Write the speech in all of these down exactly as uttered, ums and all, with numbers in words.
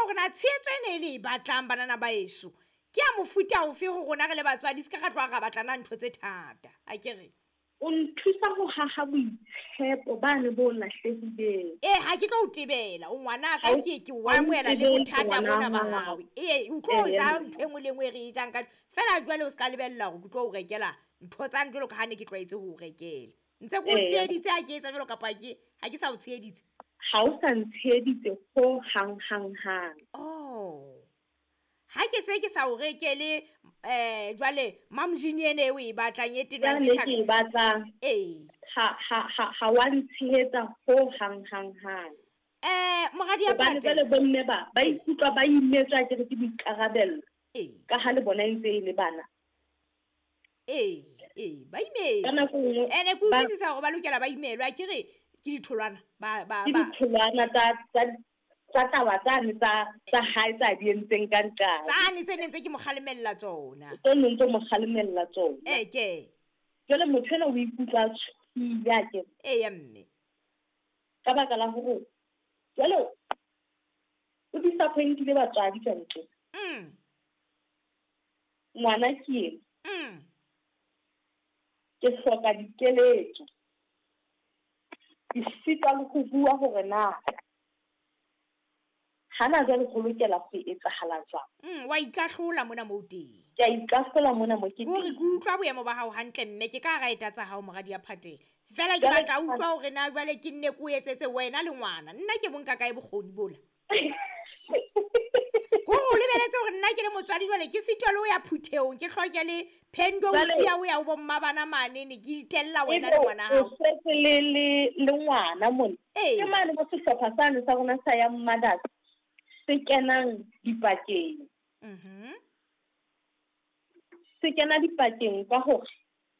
hore na tshehetso ena e le e batlang banana ba eso ke ya mofuta ofe ho rona re le batswadi, se ka ra tloha ra batlana ntho tse thata. A ke re o nthusa ho haha boitshepo bane bo lahlehileng. Ee, ha ke tlo o tebela, o ngwana ka ke ke o amohela le bothata bona ba hao. Ee, o tlo ja ntho e nngwe le e nngwe e re e jang ka fela jwale o se ka lebella hore ke tlo o rekela ntho tsane jwalo ka ha ne ke tlwaetse ho o rekela. Ntse ke o tsheheditse ha ke etsa jwalo kapa ke ha ke sa o tsheheditse? Ha o sa ntsheheditse ho hang hang hang. Oh. Ha ke se ke sa o rekele eh jwale mamjini ene e o e batlang e tenwa ke ke e batlang. Ee. Ha ha ha ha wa ntshehetsa ho hang hang hang. Eh moradi ya Hobane jwale bomme ba ba ikutlwa ba imetswa ke re ke boikarabello. Ee. Ka ha le bona e ntse e le bana. Ee, ee, ba imetswe. Ene ke utlwisisa hore ba lokela ba imelwa, ke re ke ditholwana ba ba ba ditholwana tsa tsa tsa taba tsane tsa tsa hae tsa di entseng ka nqane. Tsane tse neng tse ke mo kgalemella tsona. Tse neng tse mo kgalemella tsona. Ee ke. Jwale motho ena o ikutlwa a tshohile a ke. Ee ya mme. Ka baka la hore jwale o disappointile batswadi ka ntle. Mm. Ngwana ke ena. Mm. Ke hloka dikeletso. Ke sitwa le ho bua hore na hana jwale ho lokela ho etsahala jwang. Mm, wa ikahlola mona moo teng. Ke a ikahlola mona mo ke teng. Hore ke utlwa boemo ba hao hantle mme ke ka raeta tsa hao moradi ya Phatela. Fela ke batla utlwa hore na jwale ke nne ke o etsetse wena le ngwana. Nna ke bonka kae bokgoni bola. Ko o lebeletse hore nna ke le motswadi jwale ke sitwa le ho ya phuthehong, ke hloke le phendo o siya o ya ho bomma bana mane ne ke itella wena le ngwana hao. O setse le le le ngwana mona. Ke mane mo sehlopha sane sa rona sa ya Mothers se kenang dipakeng. Mhm. Se kena dipakeng ka hore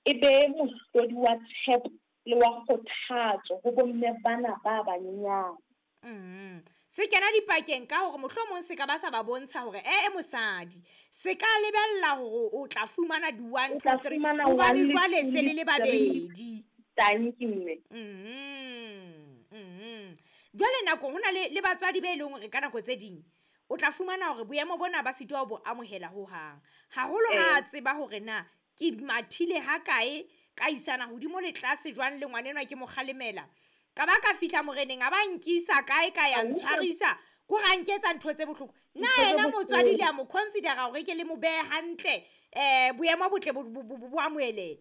e be mohlodi wa tshepo le wa kgothatso ho bomme bana ba banyenyane. Mm. Se kena dipakeng ka hore mohlomong se ka ba sa ba bontsha hore eh e mosadi se ka lebella hore o tla fumana di one two three hobane jwale se le le babedi. Thank you mme. Mhm. Mhm. Jwale nako hona le le batswadi be leng hore ka nako tse ding o tla fumana hore boemo bona ba sitwa bo amohela ho hang. Haholo ha tseba hore na ke mathile ha kae ka isana hodimo le tlase jwang le ngwanenwa ke mo kgalemela. Ka ba ka fihla moreneng a ba nkisa kae ka ya ntshwarisa ko ra nketsa ntho tse bohloko. Na yena motswadi le a mo considera hore ke le mo behe hantle eh boemo botle bo amohele.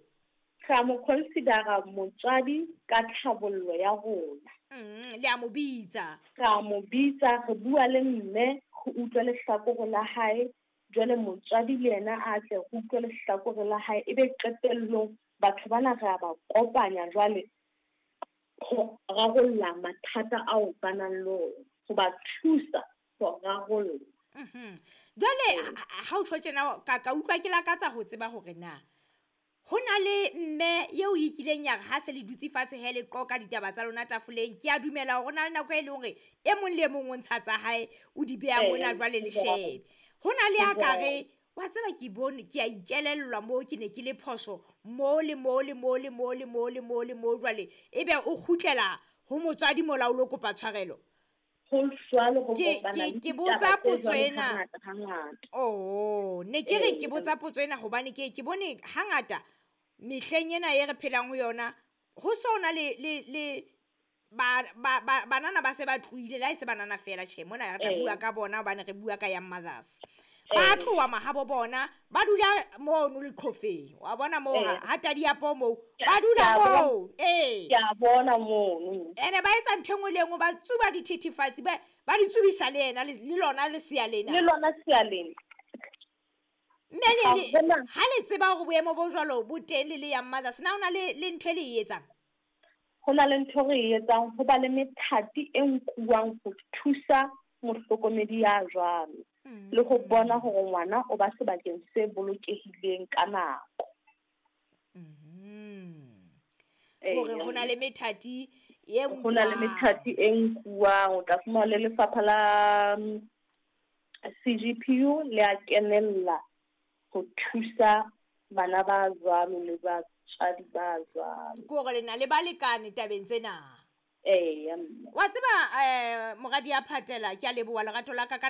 Ra mo considera motswadi ka tlhabollo ya rona. Mm, le a mo bitsa. Ra mo bitsa, re bua le mme, go utlwa lehlakore la hae. Jwale motswadi le yena a tle go utlwa lehlakore la hae, ebe qetellong batho bana re a ba kopanya jwale go rarolla mathata ao ba nang le ona, go ba thusa go rarolla. Mhm. Jwale ha o tjho tjena ka ka utlwa ke lakatsa ho tseba hore na ho na le mme eo e kileng ya re ha se le dutse fatshe he le qoka ditaba tsa lona tafoleng, ke a dumela hore na le nako e leng hore e mong le e mong o ntsha tsa hae o di beha mona jwale le shebe. Ho na le a ka re wa tseba ke bone ke a ikelellwa moo ke ne ke le phoso mo le mo le mo le mo le mo le mo le mo jwale ebe o kgutlela ho motswadi mola o lo kopa tshwarelo. Ho jwalo ho kopana ke botsa potso ena. Oh, ne ke re ke botsa potso ena hobane ke ke bone hangata mehleng ena e re phelang ho yona ho sona le le le ba ba banana ba se ba tlohile la e se banana fela tjhe mona re tla bua ka bona hobane re bua ka Young Mothers. Ba tloha mahabo bona ba dula mono leqhofeng wa bona moo ha tadi ya po moo ba dula moo ee ke a bona mono ene ba etsa ntho engwe le engwe ba tsuba dithethefatsi ba ba di tsubisa le yena le lona le sea lena le lona sea lena mme le ha le tseba hore boemo bo jwalo bo teng le le Young Mothers na hona le le ntho e le e etsang? Ho na le ntho re e etsang, ho ba le methati e nkuwang ho thusa mohlokomedi ya jwalo le ho bona hore ngwana o ba sebakeng se bolokehileng ka nako. Mhm. Hore ho na le methati e nkuwang. Ho na le methati e nkuwang, o tla fumana le lefapha la C G P U le a kenella ho thusa bana ba jwalo le batswadi ba jwalo. Ke hore le na le balekane tabeng tsena. Ee. Wa tseba eh moradi ya Phatela ke a leboha lerato la ka ka